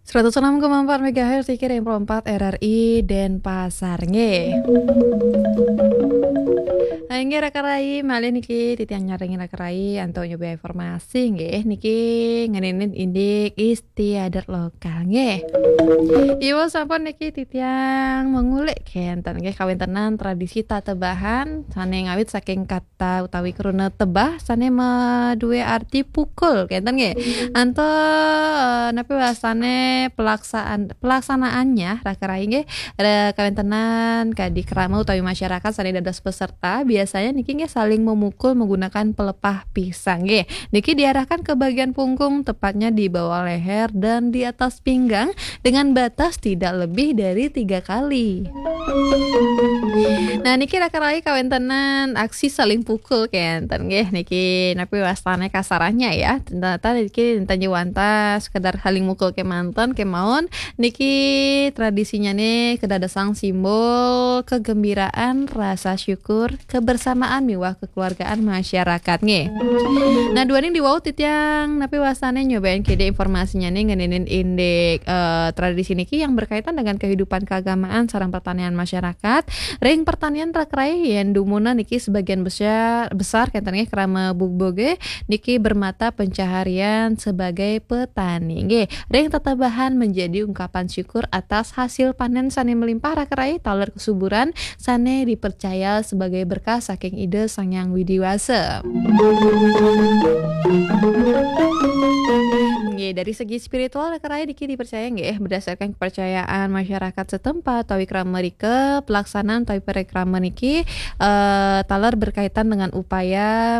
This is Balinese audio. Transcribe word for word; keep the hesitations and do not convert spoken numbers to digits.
Seratus enam koma empat megahertz, niki ring Pro empat R R I Denpasar, nggih. Nah, inggih, Raka Rai, malih niki titiang nyarengin Raka Rai antuk nyoba informasi, nggih. Niki ngeninin indik istiadat lokal, nggih. Ibu sampun niki titiang mengulik kenten, nggih, kawéntenan tradisi tatebahan sané ngawit saking kata utawi kruna tebah sané madué arti pukul, kenten, nggih. Antuk, eh, napi wastané pelaksaan-, pelaksanaannya, Raka Rai, nggih, ada kawéntenan kadi krama utawi masyarakat sané dados peserta, biasanya niki, nggih, saling memukul menggunakan pelepah pisang, nggih. Niki diarahkan ke bagian punggung, tepatnya di bawah leher dan di atas pinggang, dengan batas tidak lebih dari tiga kali. Nah, niki Raka Rai kawéntenan aksi saling pukul kenten, nggih. Niki napi wastané kasarannya, ya. Ternyata niki ten ja wantah sekedar saling mukul kémanten, kémaon. Niki tradisinya nih kedadosan simbol kegembiraan, rasa syukur, kebersamaan miwah kekeluargaan masyarakat, nggih. Nah, duaning diwau titiang napi wastané nyobain kida informasinya nih ngeninin indik, eh, tradisi niki yang berkaitan dengan kehidupan keagamaan sareng pertanian masyarakat. Ring pertanian, Raka Rai, yén dumunung niki sebagian besar, besar kenten, nggih, krama bugbuge niki bermata pencaharian sebagai petani, nggih. Ring tatebahan menjadi ungkapan syukur atas hasil panen sané melimpah, Raka Rai, taler kesuburan sané dipercaya sebagai berkah saking Ida Sang Hyang Widhi Wasa. Nggih, dari segi spiritual, Raka Rai, niki dipercaya, nggih, berdasarkan kepercayaan masyarakat setempat utawi krama rika, pelaksanaan utawi parikrama niki, eh, taler berkaitan dengan upaya